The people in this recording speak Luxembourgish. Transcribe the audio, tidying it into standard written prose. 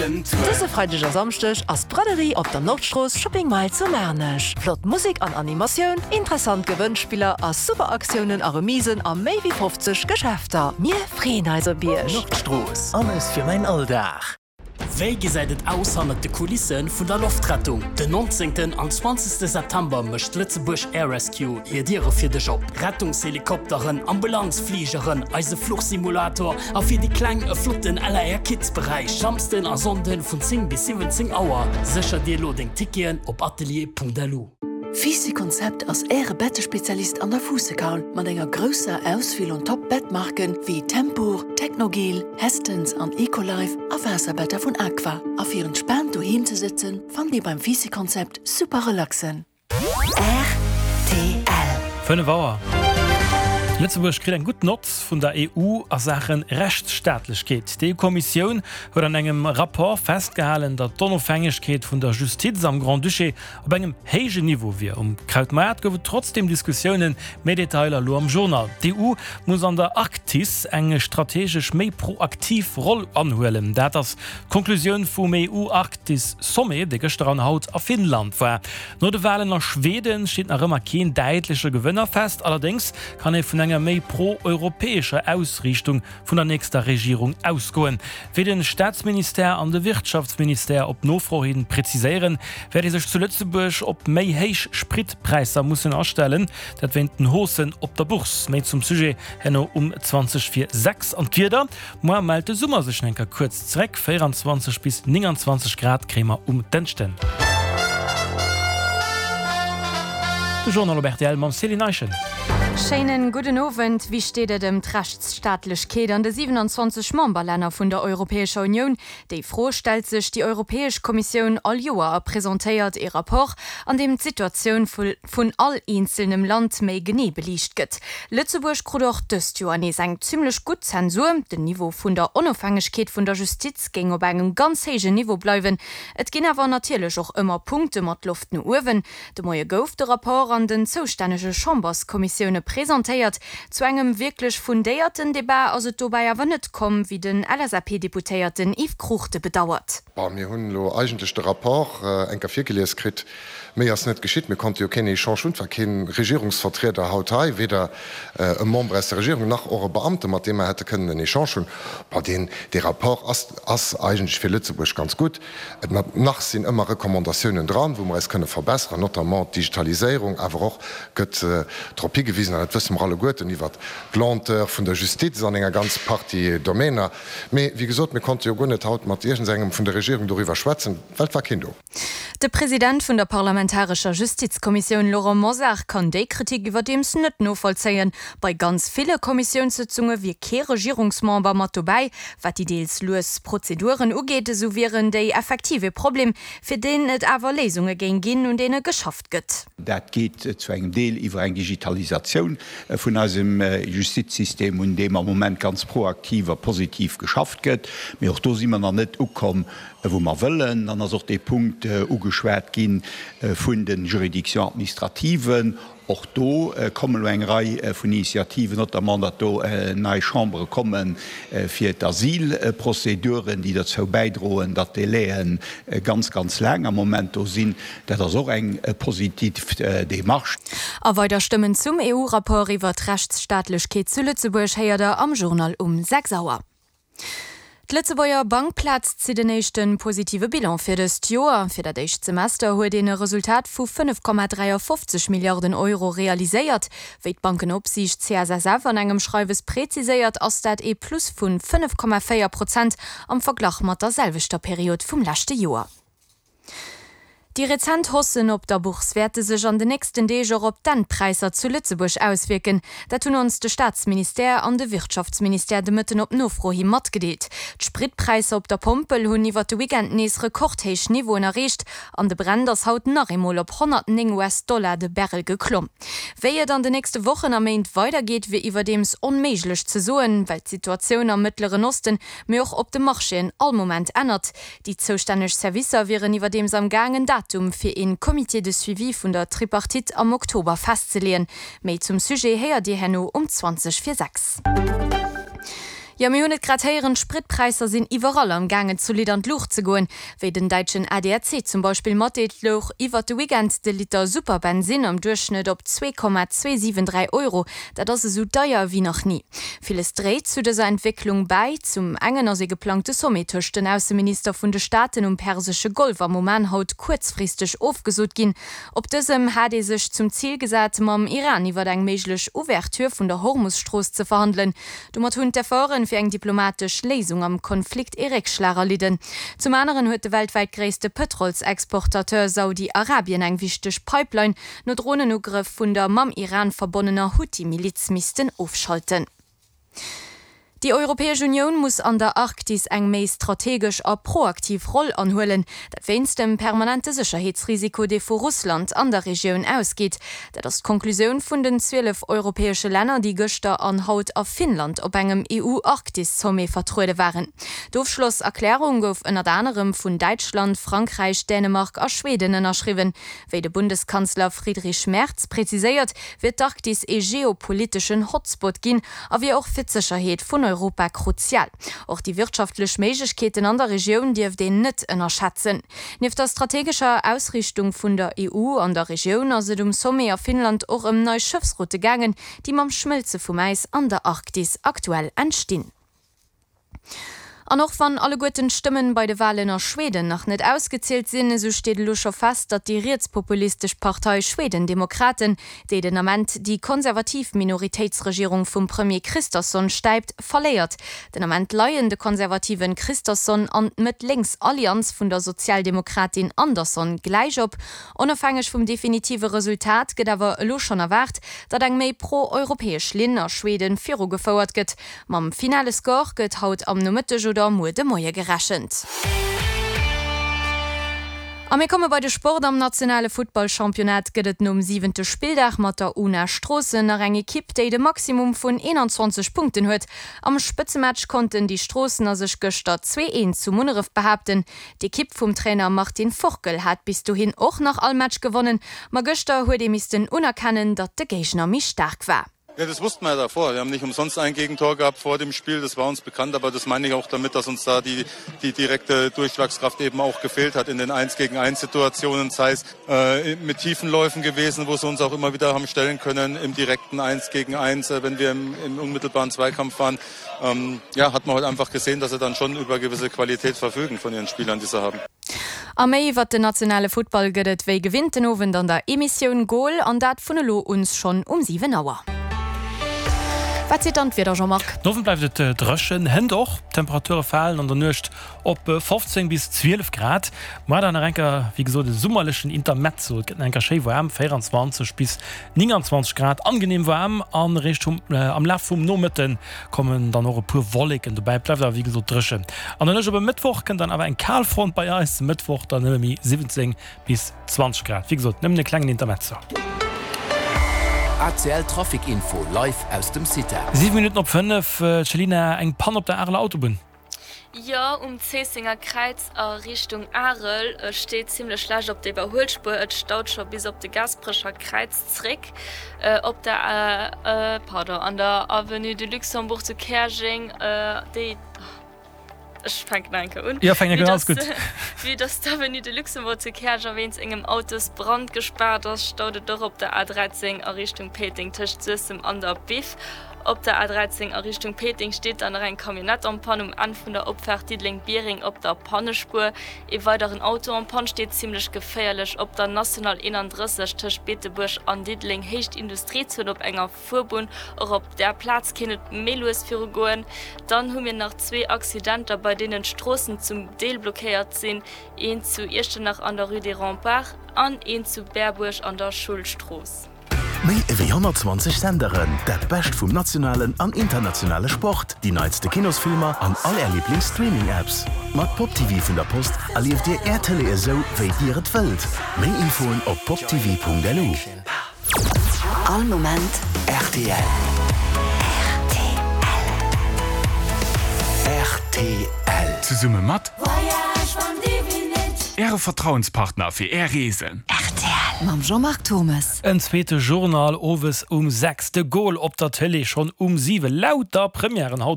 Dëse Freideg a Samschdeg ass d'Braderie op der Nordstrooss Shopping Mile zu Maarnech. Flott Musek an Animatioun, interessant Gewënnspiller a super Aktiounen a Remisen a méi wéi 50 Geschäfter. Mir freeën eis op Iech! Nordstrooss, alles fir mäin Alldag. Wéi gesäit et aus hannert de Kulisse vun der Loftrettung? Den 19. an 20. September mécht Lëtzebuerg Air Rescue hir Diere fir dech op. Rettungshelikopteren, Ambulanzfligeren, eise Fluchsimulator a fir déi Kleng e flotten LAR Kids Beräich. Samsden a Sonnden vun 10 bis 17 Auer. Sécher dir elo deng Ticketen op atelier.lu. Fisi Konzept ass Äre Bettespezialist an der Fuussekaul mat enger grousser Auswiel un Top Bettmarken wéi Tempur, Technogel, Hästens an Ecolife a Waasserbetter vun Aqua. A fir entspaant doheem ze sëtzen, fannt Dir beim Fisi Konzept super Relaxen. Rtl. 5 Auer. Lëtzebuerg kritt eng gutt Nott vun der EU a Saache Rechtsstaatlechkeet. D'EU-Kommissioun huet an engem Rapport festgehalen, datt d'Onofhängegkeet vun der Justiz am Grand-Duché op engem héijen Niveau wier. Um Krautmaart gouf et trotzdeem Diskussiounen. Méi Detailer elo am Journal. D'EU muss an der Arktis eng strategesch méi proaktiv Roll anhuelen. Dat ass d'Konklusioun vum EU-Arktis-Sommet, dee gëschter an haut a Finnland war. No de Walen a Schweden steet nach ëmmer keen däitleche Gewënner fest. Allerdéngs kann ee vun enger méi pro-europäescher Ausriichtung vun der nächster Regierung ausgoen. Wéi de Staatsministère an de Wirtschaftsministère op Nofro hi preziséieren, wäert ee sech zu Lëtzebuerg op méi héich Spritpräisser mussen astellen. Dat wéint den Haussen op der Bourse. Méi zum Sujet herno um 20 vir 6. An d'Wieder, Moar mellt de Summer sech enker kuerz zeréck, 24 bis 29 Grad kréie mer um Dënschden. De Journal op rtl mam Céline Eischen. Schéinen gudden Owend. Wéi steet et ëm d'Rechtsstaatlechkeet an de 27 Memberlänner vun der Europäescher Unioun? Déi Fro stellt sech déi Europäesch Kommissioun all Joer a presentéiert ee Rapport, an deem d'Situatioun vun all eenzelnem Land méi genee beliicht gëtt. Lëtzebuerg krut och dëst Joer nees eng zimmlech gutt Zensur. Den Niveau vun der Onofhängegkeet vun der Justiz géing op engem ganz héijen Niveau bleiwen. Et ginn awer natierlech och ëmmer Punkte mat Loft no uewen. De Moie gouf de Rapport an den zoustännege Chamberskommissioune presentéiert. Zu engem wierklech fundéierten Debat ass et dobäi awer net komm, wéi den LSAP-Deputéierten Yves Cruchten bedauert. Bon, mir hunn elo eigentlech de Rapport eng Kéier virgelies kritt. Méi ass net geschitt. Mir konnte jo keen Echange hunn. Et war kee Regierungsvertrieder haut hei, weder e Member aus der Regierung nach och e Beamte, mat deem mer hätte kënnen en Echange hunn. Bon, deen, dee Rapport ass, ass eigentlech fir Lëtzebuerg ganz gutt. Et nach sinn ëmmer Recommandatiounen dran, wou mer eis kënne verbessern, notamment d'Digitaliséierung, awer och gëtt drop higewisen, an dat wësse mer alleguerten, iwwert d'Lenteur vun der Justiz an enger ganz Partie Domäner. Mee, wéi gesot, mir konnte jo guer net haut mat iergendsengem vun der Regierung doriwwer schwätzen, well et war keen do. De President vun der parlamentarescher Justizkommissioun Laurent Mosar kann déi Kritik iwwerdeems net novollzéien. Bei ganz ville Kommissiounssëtzunge wier kee Regierungsmember mat dobäi. Wat déi deels lues Prozeduren ugeet, esou wieren déi effektiv ee Problem, fir deen et awer Léisunge géing ginn, un deene geschafft gëtt. Dat geet zu engem Deel iwwer eng Digitalisatioun vun eisem Justizsystem, un deem am Moment ganz proaktiv a positiv geschafft gëtt. Mee och do si mer nach net ukomm, wou mer wëllen. Dann ass och dee Punkt ugeschwat gi vun de Juridictions administratives. Och do kommen elo eng Rei vun Initiativen, notamment datt do nei Chambere komme fir d'Asylprozeduren, déi derzou bäidroen, datt d'Délaië ganz, ganz laang am Moment do sinn. Dat ass och eng positiv Démarche. A weider Stëmmen zum EU-Rapport iwwer d'Rechtsstaatlechkeet zu Lëtzebuerg héiert der am Journal um 6 Auer. D'Lëtzebuerger Bankplaz zitt en éischte positive Bilan fir dëst Joer. Fir dat éischt Semester huet een e Resultat vu 5,53 Milliarden Euro realiséiert. Wéi d'Bankenopsiicht CSSF an engem Schreiwes preziséiert, ass dat ee Plus vu 5,4 Prozent am Verglach mat der selwechter Period vum leschte Joer. Déi rezent Haussen op der Bourse wäerte sech an de nächsten Deeg och op d'Endpräisser zu Lëtzebuerg auswierken. Dat hunn ons de Staatsministère an de Wirtschaftsministère de Mëtten op Nofro hi matgedeelt. D'Spritpräisser op der Pompel hunn iwwer de Weekend nees rekordhéich Niveauen erreecht an de Brent ass haut nach eemol op 109 US-Dollar de Barrel geklomm. Wéi et an de nächste Wochen a Méint weidergeet, wier iwwerdeems onméiglech ze soen, well d'Situatioun am Mëttleren Osten, mee och op de Marchéen all Moment ännert. Déi zoustänneg Servicer wieren iwwerdeems am Gaang en Datum fir een Comité de suivi vun der Tripartite am Oktober festzeleeën. Méi zum Sujet héiert Dir herno um 20 vir 6. Jo, mir hunn et grad héieren, d'Spritpräisser sinn iwwerall am gaangen zolidd an d'Luucht ze goen. Wéi den däitschen ADAC zum Beispill matdeelt, louch iwwert de Weekend de Liter Superbensinn am Duerchschnëtt op 2,273 Euro. Dat ass esou deier ewéi nach ni. Villes dréit zu dëser Entwécklung bäi. Zum engen ass ee geplangte Sommet tëscht den Ausseminister vun de Staaten um persesche Golf am Oman haut kuerzfristeg ofgesot ginn. Op dësem hat ee sech zum Zil gesat, mam Iran iwwer eng méiglech Ouverture vun der Hormus-Strooss ze verhandelen. Domat hunn d'Efforten fir eng diplomatesch Léisung am Konflikt ee Réckschlag erlidden. Zum aneren huet de weltwäit gréisste Pëtrolsexportateur Saudi-Arabien eng wichteg Pipeline no Dronenugrëff vun der mam Iran verbonnener Huthi-Miliz missten ofschalten. Déi Europäesch Unioun muss an der Arktis eng méi strategesch a proaktiv Roll anhuelen. Dat wéinst dem permanente Sécherheetsrisiko, dee vu Russland an der Regioun ausgeet. Dat ass d'Konklusioun vun den 12 europäesche Länner, déi gëschter an haut a Finnland op engem EU-Arktis-Sommet vertruede waren. D'Ofschlosserklärung gouf ënnert anerem vun Däitschland, Frankräich, Dänemark a Schweden ënnerschriwwen. Wéi de Bundeskanzler Friedrich Merz präziséiert, wier d'Arktis ee geopoliteschen Hotspot ginn a wier och fir d'Sécherheet vun Europa kruzial. Och déi wirtschaftlech Méiglechkeeten an der Regioun dierft een net ënnerschätzen. Nieft der strategescher Ausriichtung vun der EU an der Regioun ass et um Sommet a Finnland och ëm nei Schëffsroute gaangen, déi mam Schmëlze vum Äis an der Arktis aktuell entstinn. An och wann alleguerten d'Stëmmen bei de Walen a Schweden nach net ausgezielt sinn, esou steet elo scho fest, datt déi rietspopulistesch Partei Schwedendemokraten, déi den Ament déi konservativ Minoritéitsregierung vum Premier Kristersson stäipt, verléiert. Den Ament leien de konservativen Kristersson an d'Mëtt-Lénks-Allianz vun der Sozialdemokratin Andersson gläich op. Onofhängeg vum definitive Resultat gëtt awer elo schonn erwaart, datt eng méi pro-europäesch Linn a Schweden virugefouert gëtt. Mam finale Score gëtt haut am Nomëtteg oder muer de Moie gerechent. A mir komme bei de Sport. Am nationale Futtballchampionnat gëtt et nom siwente Spilldag mat der una Stroossen nach eng Ekipp, déi de Maximum vun 21 Punkten huet. Am Spëtzematch konnten déi Stroossener sech gëschter 2, 1 zu Munneref behaapten. D'Ekipp vum Trainer Martin Forkel hat bis dohin och nach all Match gewonnen, ma gëschter huet ee missten unerkennen, datt de Géigner méi staark war. Ja, das wussten wir ja davor. Wir haben nicht umsonst ein Gegentor gehabt vor dem Spiel. Das war uns bekannt, aber das meine ich auch damit, dass uns da die, die direkte Durchschlagskraft eben auch gefehlt hat in den 1 gegen 1 Situationen, sei es äh, mit tiefen Läufen gewesen, wo sie uns auch immer wieder haben stellen können im direkten 1 gegen 1, äh, wenn wir im, im unmittelbaren Zweikampf waren. Ähm, ja, hat man heute einfach gesehen, dass sie dann schon über gewisse Qualität verfügen von ihren Spielern, die sie haben. A méi iwwert den nationale Futtball gëtt et wéi gewinnt den Owend an der Emissioun Goal, an dat vun elo un schonn um 7 Auer. Wat seet dann d'Wieder, Jean-Marc? Den Owend bleift et dréchen, hënt och. D'Temperature falen an der Nuecht op 15 bis 12 Grad. Muar dann nach enker, wéi gesot, e summerlechen Intermezzo. Et gëtt nach enker schéi waarm, 24 bis 29 Grad, angenehm waarm. An eréischt am Laf vum Nomëtte kommen dann och e puer Wolleken dobäi. Et bleift awer wéi gesot dréchen. An der Nuecht op e Mëttwoch kënnt dann awer eng Kalfront bei eis. Mëttwoch dann nëmme méi 17 bis 20 Grad. Wéi gesot, nëmmen e klengen Intermezzo. ACL Trafic Info live aus dem CITA. 7 Minutten op 5, Céline, eng Pann op der Areler Autobunn. Jo, um Zéissenger Kräiz a Richtung Arel. Et steet zimmlech schlecht op der Iwwerhuelspuer. Et staut scho bis op de Gasperecher Kräiz zréck. Op der, pardon, an der Avenue de Luxembourg zu Käerjeng, déi, ech fänken nach eng Kéier un, Jo, fänk eng Kéier un, alles gutt. Vue dass d'Avenue de Luxembourg zu Käerjeng wéinst engem Autosbrand gespaart ass, staut et och op der A13 a Richtung Péiteng tëscht Suessem an der Biff. Op der A13 a Richtung Péiteng steet dann nach eng Camionnette en panne um Enn vun der Opfaart Diddeleng-Biereng op der Pannespuer. Ee weideren Auto en panne steet zimmlech geféierlech op der National 31 tëscht Beetebuerg an Diddeleng, Héicht Industriezon op enger Fuerbunn. Och op där Plaz kéint et méi lues viru goen. Dann hu mir nach zwee Accidenter, bei deenen d'Stroossen zum Deel blockéiert sinn, een zu Iechternach an der Rue des Remparts an een zu Berbuerg an der Schullstrooss. Méi ewéi 120 Senderen, dat Bescht vum nationalen an internationale Sport, déi neitste Kinosfilmer an all Är Liiblings-Streaming-Apps. Mat Pop TV vun der Post erlieft Dir Är Tëlee esou, wéi Dir et wëllt. Méi Infoen op poptv.lu. All Moment rtl. Rtl. Zesumme mat Äre Vertrauenspartner fir Är Reesen. Rtl mam Jean-Marc Turmes. En zweete Journal owes um 6, de Goal op der Tëlee schonn um 7, lauter Premièren haut op.